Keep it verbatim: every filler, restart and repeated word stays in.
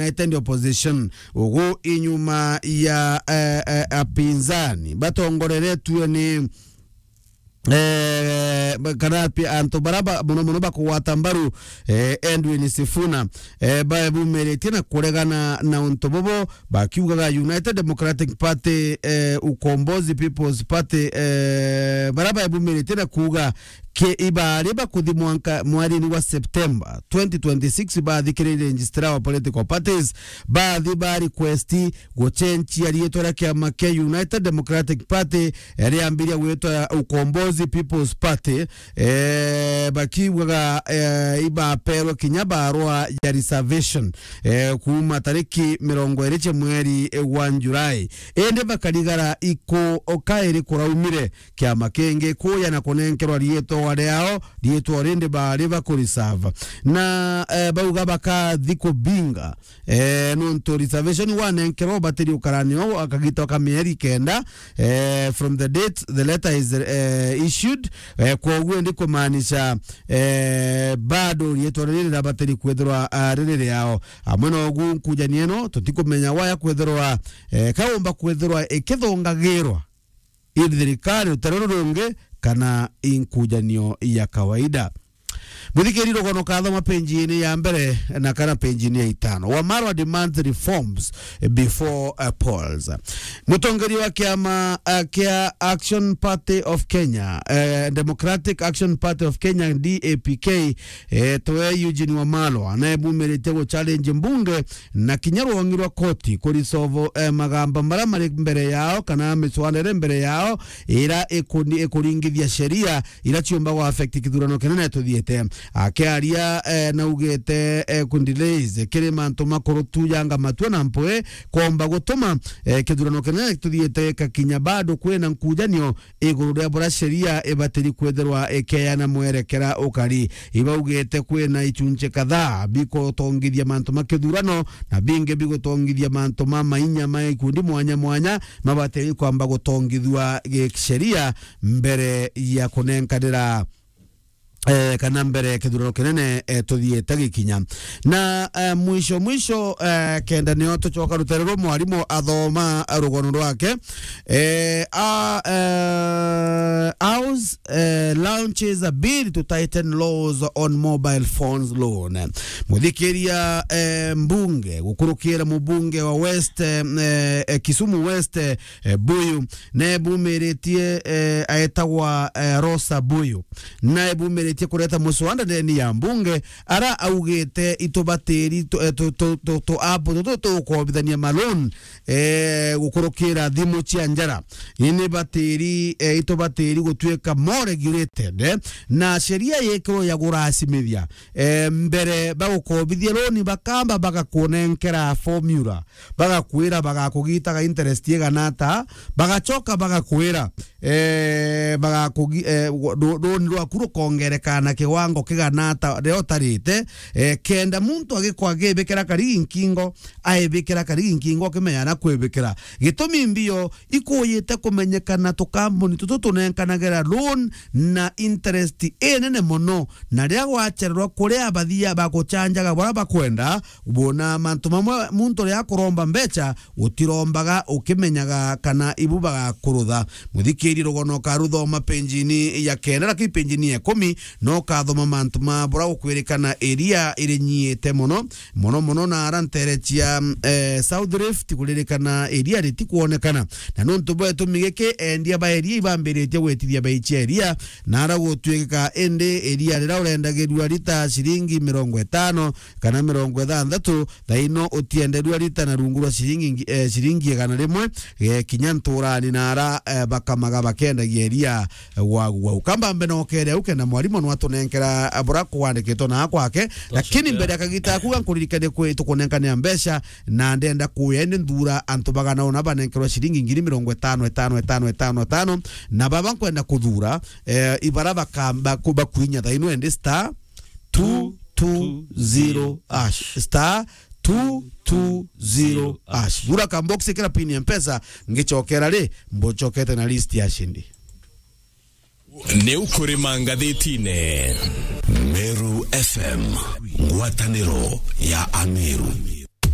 United Opposition, ugu inyuma ya, eh, eh, apinzani batongoreretue ni, eh, ba-, kana pi-, antu bara ba-, muno muno bakugwata mbaru, eh, Edwin Sifuna, eh, babumiritie na kuregana na untu bubu, bakiugaga United Democratic Party, eh, Ukombozi People's Party, eh, bara babumiritie na kuuga ke ibari bakuthi mwanka mwarini wa September twenty twenty-six, bathikiririe registrar wa political parties, bathi ba request gucenjia riitwa ria kiama kia United Democratic Party, eh, riambiria gwitwa Ukombozi People's Party, eh, bakiugaga, eh, ibaperwe kinya barua ya reservation, eh, kuuma tariki mirongo iri cia mweri, eh, wa July. Indi bakarigara iku o kairi kuraumire kiama kingi kuuya na kunenkerwa riitwa riao, riitwa rindi bari bakureserve. Na, eh, bauga bakathi kubinga, eh, nontu reservation wanenkerwa ubatiri ukarani o akagita ka mieri kenda, eh, from the date the letter is, eh, issued, eh, kwoguo ndi kumaanisha, eh, bado riitwa riri rirabatiri kwithirwa, ah, riri riao. Amwe na ugu nkujania ino, tutikumenya waya kwithirwa, eh, kaumba kwithirwa ikithongagirwa i thirikari rutaro rurungi kana inkujanio ya kawaida. Muthikiri rugono kathoma penjini ya mbere na kana penjini ya itano. Wamalwa demands reforms before, uh, polls. Mutongeri wa kiama, uh, kia Action Party of Kenya, uh, Democratic Action Party of Kenya, D A P K, eh, twe Eugene Wamalwa, naebumiritie guchallenge mbunge na kinya rwongi rwa koti kurisolve, eh, magamba maria mari mbere yao kana miswara iria mbere yao ira ikuni-, ikuringithia sheria ira ciumba gwa affect kithurano kinene tuthiite. Akiaria, eh, naugite, eh, ku delays kiri mantu makuru tu yanga matua na mpwi komba gutuma, eh, kithurano kinene tuthiite kakinya bado kwina nkujanio iguru ria buria sheria ibatiri kwithirwa ikeana mwerekera ukari. Ibaugite kwina ichunchi kadhaa bigutongithia mantu ma kithurano na bingi bigutongithia mantu ma mainya ma ikundi mwanya mwanya mabatiri kwamba gutongithua gisheria mbere ya kunenkanira, eh, kana mbere ya kithurano kinene, eh, tuthiite gikinya. Na, eh, mwisho mwisho, eh, kenda nio tucoka rutere rwa mwarimu athoma rugono rwake. Eh, a, eh, House, eh, launches a bill to tighten laws on mobile phones loan. Muthikiria, eh, mbunge, gukurukira mubunge wa West, eh, eh, Kisumu West, eh, Buyu, nebumiritie, eh, aetagwa, eh, Rosa Buyu. Naebumiritie kureta muswada ndeni ya mbunge, ara augite itubatiri tu, eh, tu, tu, tu, tu app tutu tukobithania ma loan, eh, gukurukira thimu cia njara. Ini batiri, eh, itubatiri gutuika more regulated, eh, na sheria yikirwo ya gurasimithia, eh, mbere bagukobithia loan bakamba bagakunenkera formula. Bagakwira bagakugitaga interest igana ata, bagacoka bagakwira, eh, bagakugi-, eh, ru-, runi rwaku rukongereka na kiwango kigana ata riria utarite, eh, kenda muntu agikwa agibikira karigi nkingo, aibikira karigi nkingo ukimenya na kwibikira. Gitumi mbio ikuyite kumenyekana tukambuni tutu tunenkanagira loan na interest inene mono, na riria gwachererwa kuria abathia bagucanjaga baria bakwenda, Bona mantu mamwe muntu riria akuromba mbeca, utirombaga ukimenyaga kana ibu bagakurutha. Muthikiri rugono ukaruthoma penjini ya kenda, lakini penjini ya ikumi no ukathoma mantu ma bura gukwirikana iria irinyiite mono, mono mono na ara ntere cia, eh, South Rift kuririkana iria ritikwonekana. Na nuntu bwa gitumi giki, endia ba iria ibambiritie gwitithia bei cia iria, na ara gutwika indi iria riria urendagirua rita ciringi mirongo itano, kana mirongo ithanthatu, thaino utienderua rita na rungu rwa ciringi ngi-, eh, ciringi igana rimwe, eh, kinya nturani na ara, eh, bakamaga bakendagia iria, eh, gwa gwa. Ukamba mbe na ukere au kenda mwarimu no atunenkera, eh, bura kwandikitwo na kwake, lakini mbere akagita kuga nkuririkane kwi tukunenkanira mbeca, na ndenda kuya indi nthura antu bagana una banenkerwa ciringi ngiri mirongo itano, itano, itano, itano, itano, na baba nkwenda kuthura, eh, ibara bakamba ku-, bakuinya thaino indi star two two zero hash. Star two two zero hash. Thura ka box, ikira pin ya Mpesa, ngicokera ri, mbucokete na list ya ashindi. Ni ukurima ngathitine. Meru F M, ngwataniro ya Ameru.